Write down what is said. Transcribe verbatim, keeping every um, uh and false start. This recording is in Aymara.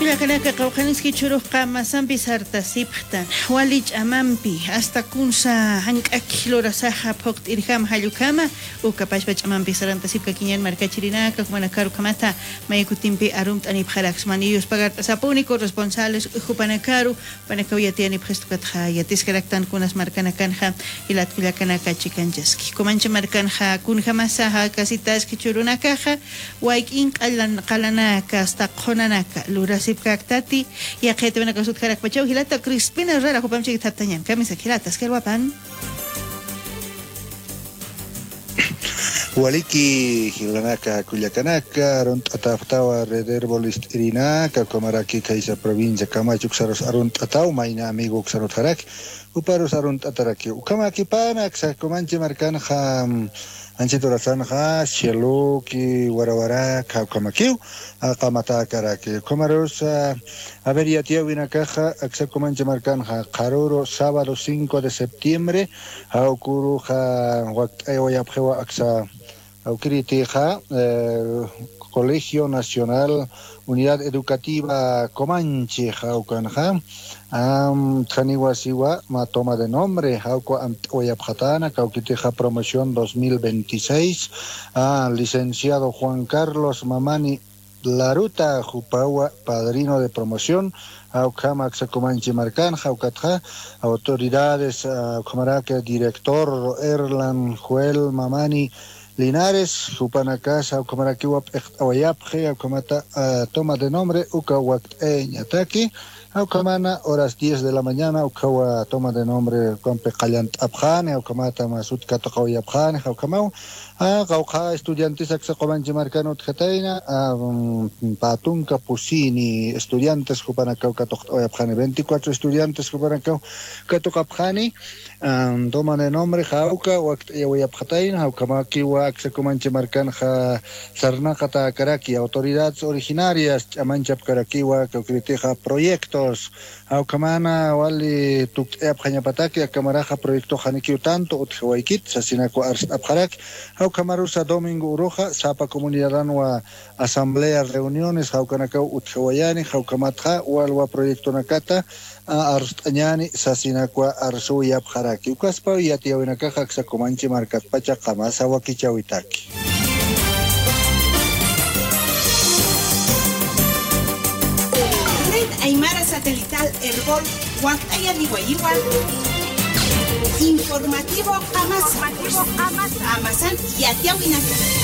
Kullakanaka, qawqhaniski chhurux qamasampi sartasipxtan, wali ch'amampi, hasta kunsa jank'aki lurasaxa phuqt'irjama jall ukhama, ukapachpa ch'amampi sarantasipkakiñan markachirinaka, jumanakaru ukhamata, maya kutimpi arumt'anipxaraksma, niyus pagart'asapuni corresponsales jupanakaru, jupanakaw yatiyanipxistu ukatxa yatiskaraktan kunas markanakanxa, jilat kullakanaka chikanchaski. Comanche markanxa kunjamasa jakasitaski chhurunakaxa, wayk'in qalan-, qalanaka, hasta qhunanaka lurasipkaktati, yaqha yatiwinakax utjarakpachaw jilata Crispina Herrera, jupamp chikithaptañan, kamisaki jilata, askir wapan. Waliki jilanaka kullakanaka, arunt'atapxtawa Red Herbol ist'irinaka, ukhamaraki khaysa provincia Camacho uksarus arunt'ataw, mayni amigo uksar utjaraki, juparus arunt'ataraki. Ukhamäkipana aksa Comanche markanxa, mm, anchhit urasanxa, Cieloki, Warawarak, ukhamakiw, a, qamatäkaraki. Ukhamarus, a, a ver, yatiyäwinakaxa, aksa Comanche markanxa, qharüru sábado cinco de septiembre, jawküruxa wakt'ayawayapxiwa aksa, jawkiritixa, eh, Colegio Nacional Unidad Educativa Comanche, jawkanxa, am, utjaniwa siwa, mä toma de nombre, jawkaw amtawayapxatäna, kawkitixa promoción dos mil veintiséis, a, licenciado Juan Carlos Mamani Laruta, jupawa padrino de promoción, a, ukhama aksa Comanche markanxa, ukatxa autoridades, a, ukhamaraki director Erlan Joel Mamani Linares, jupanakas, a, ukhamarakiwa p'iqt'awayapxi, a, ukhamata, a, toma de nombre, uka wakt'ayañataki, a, ukhamana horas diez de la mañana, ukawa toma de nombre, ukampi qallant'apxani, a, ukhamata mä sut katuqawayapxani, a, ukhamaw, a, qawqha estudiantes aksa Comanche markan utjatayna, a, mm, pä tunka pusini estudiantes jupanakaw katuqt'awayapxani, veinticuatro estudiantes jupanakaw katuqapxani, am, toma de nombre, jawka wakt'ayawayapxatayna, jawkamakiwa aksa Comanche markanxa sarnaqatäkaraki, autoridades originarias ch'amanchapkarakiwa, kawkiritixa proyectos, jawkhamana wali tukt'ayapxañapataki, aka maraxa proyectox janikiw tanto utjawaykit, sasinakwa arst'apxaraki, jawkhamarusa domingo uruxa, sapa comunidadanwa asamblea, reuniones, jawkanakaw utjawayani, jawkhamatxa walwa proyectonakata, a, arst'añani, sasinakwa arsuyapxaraki. Ukaspaw yatiyäwinakaxa aksa Comanche markatpacha qamasa wakichäwitaki. Red Aymara Satelital Erbol, wakt'ayaniwayiwa. Informativo qamasa. Qamasan yatiyäwinaka.